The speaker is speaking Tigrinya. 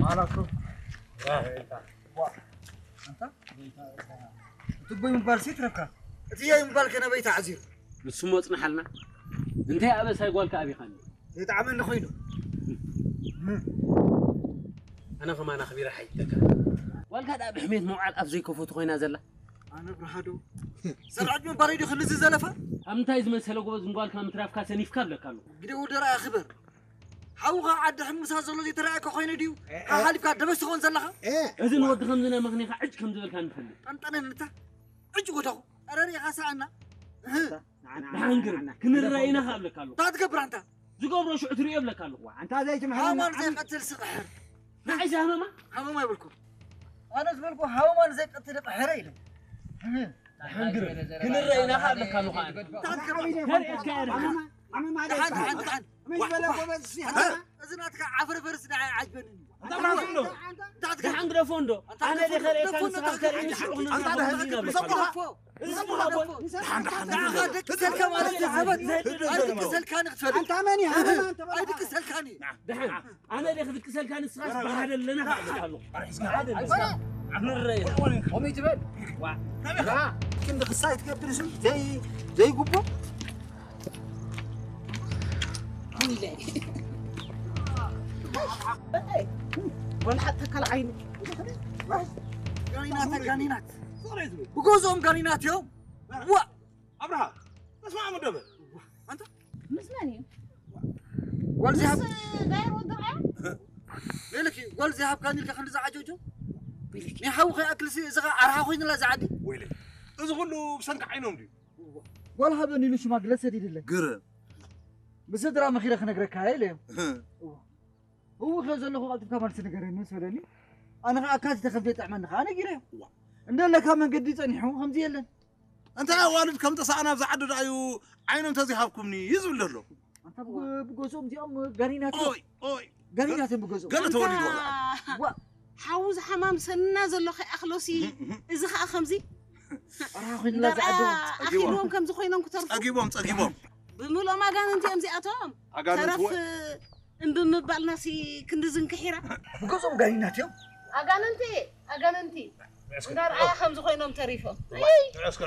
ማላኮ። ኣንታ፣ እቲ ቦይ ምባል ሲ ትረካ። እቲ የይ ምባል ከነበይ ተዓዚሩ። ንሱ ሞ ጽንሓልና። እንታይ ኣበሳይ ጓልካ ኣቢኻኒ? ይጥዓመኒ ኮይኑ። ኣነ ከማን ኣኽቢረ ሓይተካ። ጓልካ ደኣ ብሕሜት መውዓል ኣፍ ዘይከፈቱ ኮይና ዘላ። ኣነ ብርሃዶ። ሰብ ዕድመ ባረይ ዲዩ ክንዚ ዘለፋ? ኣብ እንታይ ዝመሰለ ጎበዝ ንጓልካ ምትራፍካ ሰኒፍካ ኣለካ ኣሎ። ግደ ወደራ ኣኽበር። ሓውኻ ዓዲ ሕምሳ ዘሎ ዘይተረኣየካ ኮይነ ድዩ? ሓሓሊፍካ ደበስ ትኾን ዘለኻ? እዚ ንወዲ ከምዚ ናይ ምኽኒኻ ዕጭ ከም ዝበልካ ንፈልጥ። ጠንጠነን እንታ። ዕጭ ወደኹ። ኣረ ሪኢኻ ሰኣና። እህ። ንዓና፣ ንዓና፣ ንዓና፣ ንዓና። ክንረአ ኢና ከብለካ ኣለኹ። እንታይ ትገብር ኣንታ? ዝገብሮ ሽዑ ትርእዮ እብለካ ኣለኹ። ዋ፣ ኣንታ ዘይትምሕረና ሃማን ዓብዪ ዘይቀትል ስቕሕር። ንዓይ ዝሃመማ? ሃመማ ይብልኩ። ኣነ ዝበልኩ ሃማን ዘይቀትል ቅሕረ ኢለ። እህ። ክንረአ ኢና ከብለካ ኣለኹ ኣነ። እንታይ ትገብር? ከርእየካ እየ። ዓመማ፣ ዓመማ ደሓን፣ ደሓን፣ ደሓን። መሽ በለ ጎበዝ ሲ፣ ሃ? እዚ ናትካ ዓፍረፈርስ ንዓይ ዓጅበኒ። እንታይ ብራሱ እንዶ? እንታይ ትገብር? ደሓን ግደፎ እንዶ። ኣነ ዲኸ ርእየካ ንስኻ ከርእየኒ ሽዑ ክንዝረብ ኣንታ ደሓን ክንዝረብ ግደፎ። ኣንታ እዚ ግደፎ። ንዓኻ ደቂ ሰልካ ማለት እዩ፣ ዘበት። ኣይድቂ ሰልካኒ ክትፈልጥ። ኣንታ መን እዩ? ሃመማ፣ ኣንታ በል። ኣይድቂ ሰልካኒ። ደሓን። ኣነ ዲኸ ክትቅሰልካ ንስኻስ ብሓደ ኣለና ከብለካ ኣለኹ። ብሓደ ኣለና። ንረአ ኢና። ከምይ ትበል? ዋ። ክንዲ ክሳይ ትገብር እሱ ዘይ-፣ ዘይግቦ። ወላ ሓታ ካልእ ዓይኒ። ጋኒናት፣ ጋኒናት። ብገዝኦም ጋኒናት እዮም። ዋ። ኣብርሃ፣ ተስማዕሙ ደበ። ኣንታ? ምስ መን እዩ? ጓል ምስ ዘይሃብ-፣ ዳይር ወዲ ርኣያ? ሌለኪ፣ ጓል ዘይሃብካኒ ኢልካ ክንዲ ዝዓጀጆ? ወይለኪ። ናይ ሓዊ ከይኣክልሲ፣ እዚ ኸኣ ኣርሓ ኮይኑላ እዚ ዓዲ። ወይለኪ። እዚ ኩሉ ብሰንኪ ዓይኖም ድዩ? ጓል ሃበኒ ኢሉ ሽማግለ ሰዲድለይ። ግርም። ብስድራ መኺረ ክነግረካ እየ ኢለዮም። እህ። እዎ። እዎ፣ ከ ዘለኹ ቀልጢፍካ መልሲ ንገረኒ ምስ በለኒ፣ ኣነ ኸኣ ኣካቲተ ከም ዘይጥዕመኒ ኸኣ ነጊረዮ። እዋ። እንደለካ መንገዲ ጸኒሑ ከምዚ የለን። እንታይ ኣዋልድ ከም ጠሳእና ኣብዚ ዓዲ ደኣዩ ዓይኖም ተዘይሃብኩምኒ እዩ ዝብል ዘሎ። ኣንታ ብጎ-፣ ብገዝኦም እዚኦም ጋኒናት እዮም። ኦይ፣ ኦይ። ጋኒናት እዮም ብገዝኦም። ገለ ተወሊድዎ። ኣንታ ዋ። ሓዉ ዝሓማም ሰንና ዘሎ ከይኣኽሎሲ፣ እህ፣ እህ። እዚ ኸኣ ከምዚ ኣራ ኮይንላ እንዳርኣ ዝዓዱ። ኣኺልዎም ከምዚ ኮይኖም ክተርፉ። ጸጊቦም፣ ጸጊቦም። ብምልኦም ኣጋንንቲ እዮም እዚኣቶም። ኣጋንንቲ ተረፍ ወ- እምቢ ምባልናሲ ክንዲ ዝንክሒራ። ብገዝኦም ጋኒናት እዮም። ኣጋንንቲ፣ ኣጋንንቲ። እስከ እንዳርኣያ ከምዚ ኮይኖም ተሪፎም። እይ! እስከ